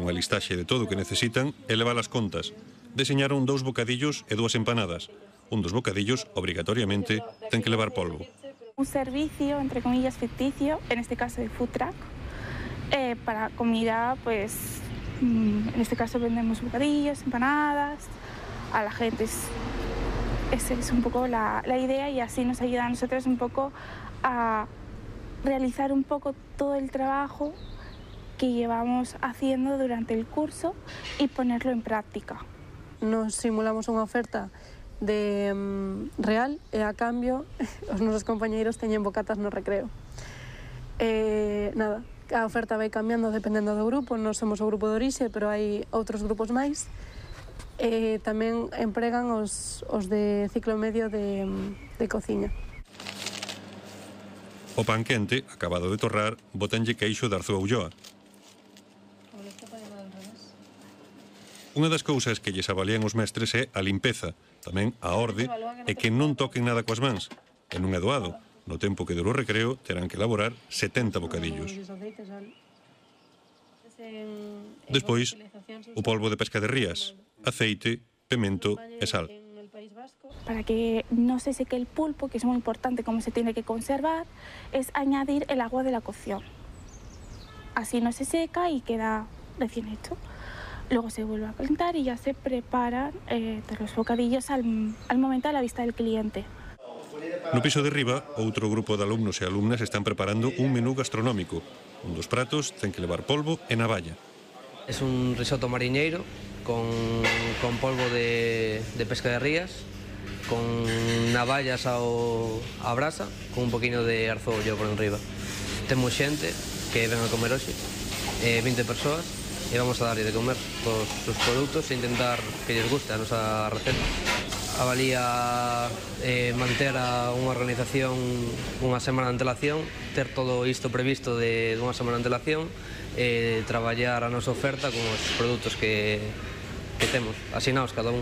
unha listaxe de todo o que necesitan e levar as contas. Deseñaron 2 bocadillos e 2 empanadas. Un dos bocadillos, obrigatoriamente, ten que levar polvo. Un servicio, entre comillas, ficticio, en este caso de food truck, para comida, pues, en este caso vendemos bocadillos, empanadas, a la gente. Esa es un poco la idea y así nos ayuda a nosotros un poco a realizar un poco todo el trabajo que llevamos haciendo durante el curso y ponerlo en práctica. Nos simulamos unha oferta de real e a cambio os nosos compañeiros teñen bocatas no recreo. Nada, a oferta vai cambiando dependendo do grupo, non somos o grupo de orixe, pero hai outros grupos máis. Tamén empregan os de ciclo medio de cociña. O pan quente, acabado de torrar, botanlle queixo de Arzúa Ulloa. Unha das cousas que lles avalían os mestres é a limpeza, tamén a orde, e que non toquen nada coas mans. E non é doado. No tempo que dure o recreo, terán que elaborar 70 bocadillos. Despois, o polvo de pesca de rías, aceite, pemento e sal. Para que no se seque el pulpo, que es muy importante cómo se tiene que conservar, es añadir el agua de la cocción. Así no se seca y queda recién hecho. Luego se vuelve a calentar y ya se preparan los bocadillos al momento a la vista del cliente. No piso de riba, outro grupo de alumnos e alumnas están preparando un menú gastronómico. Un dos pratos ten que levar polvo e navalla. Es un risotto mariñeiro con polvo de pesca de rías, con navallas a brasa, con un poquinho de arzollo por enriba. Temos xente que ven a comer hoxe, 20 persoas, e vamos a darlle de comer todos os produtos e intentar que lles guste a nosa receta. Avalía manter unha organización unha semana de antelación, ter todo isto previsto de unha semana de antelación e traballar a nosa oferta con os produtos que temos, asinados cada un.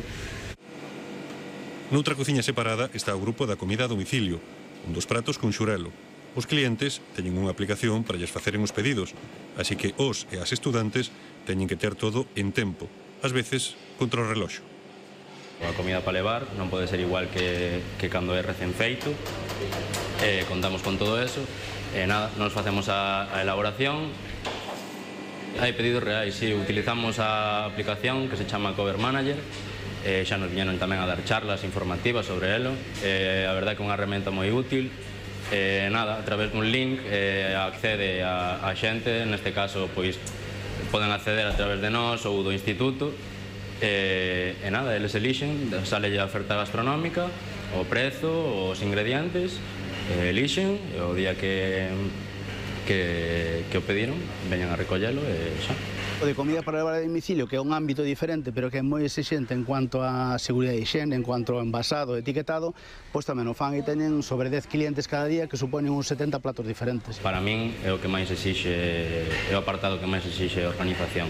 Noutra cociña separada está o grupo da comida a domicilio, un dos pratos con xurelo. Os clientes teñen unha aplicación para lles faceren os pedidos, así que os e as estudantes teñen que ter todo en tempo, ás veces contra o reloxo. A comida para levar non pode ser igual que cando é recén feito, contamos con todo eso, e nada, nos facemos a elaboración. Hai pedidos reais, sí, utilizamos a aplicación que se chama Cover Manager, xa nos viñeron tamén a dar charlas informativas sobre elo, a verdade que é unha herramienta moi útil. Nada, a través dun link accede a xente, neste caso pois poden acceder a través de nós ou do instituto, e nada, eles elixen, sale a oferta gastronómica, o prezo, os ingredientes, elixen, e o día que o pediron, veñan a recollelo e xa. O de comida para levar a domicilio, que é un ámbito diferente, pero que é moi exixente en cuanto a seguridade e higiene, en cuanto ao envasado e etiquetado, pois tamén o fan e teñen sobre 10 clientes cada día que suponen uns 70 platos diferentes. Para min é o que máis exixe, é o apartado que máis exixe a organización,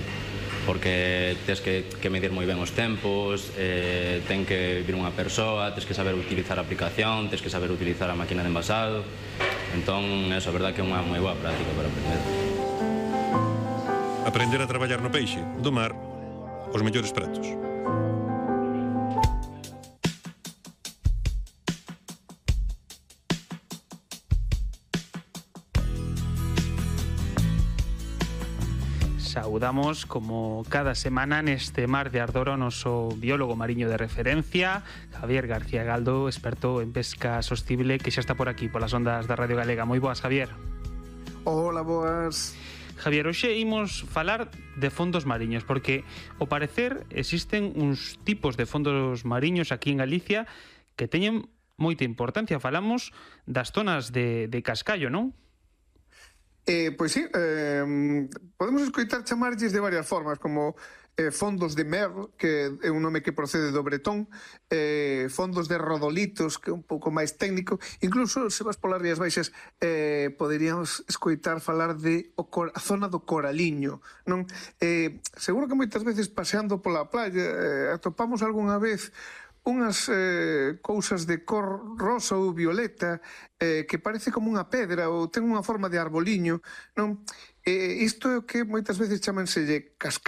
porque tens que medir moi ben os tempos, ten que vir unha persoa, tens que saber utilizar a aplicación, tens que saber utilizar a máquina de envasado, entón, eso, a verdade que é unha moi boa práctica para aprender. Aprender a traballar no peixe, do mar, os mellores pratos. Saudamos, como cada semana, neste Mar de Ardor o noso biólogo mariño de referencia, Javier García Galdo, experto en pesca sostible, que xa está por aquí, polas ondas da Radio Galega. Moi boas, Javier. Hola, boas. Javier, hoxe imos falar de fondos mariños, porque, ao parecer, existen uns tipos de fondos mariños aquí en Galicia que teñen moita importancia. Falamos das zonas de cascallo, non? Pois sí, podemos escoitar chamarlles de varias formas, como fondos de mer, que é un nome que procede do bretón, fondos de rodolitos, que é un pouco máis técnico, incluso se vas polas Rías Baixas poderíamos escoitar falar de a zona do Coraliño, non? Seguro que moitas veces paseando pola playa atopamos algunha vez unhas cousas de cor rosa ou violeta que parece como unha pedra ou ten unha forma de arboliño, non? Isto é o que moitas veces chamanselle cascallo.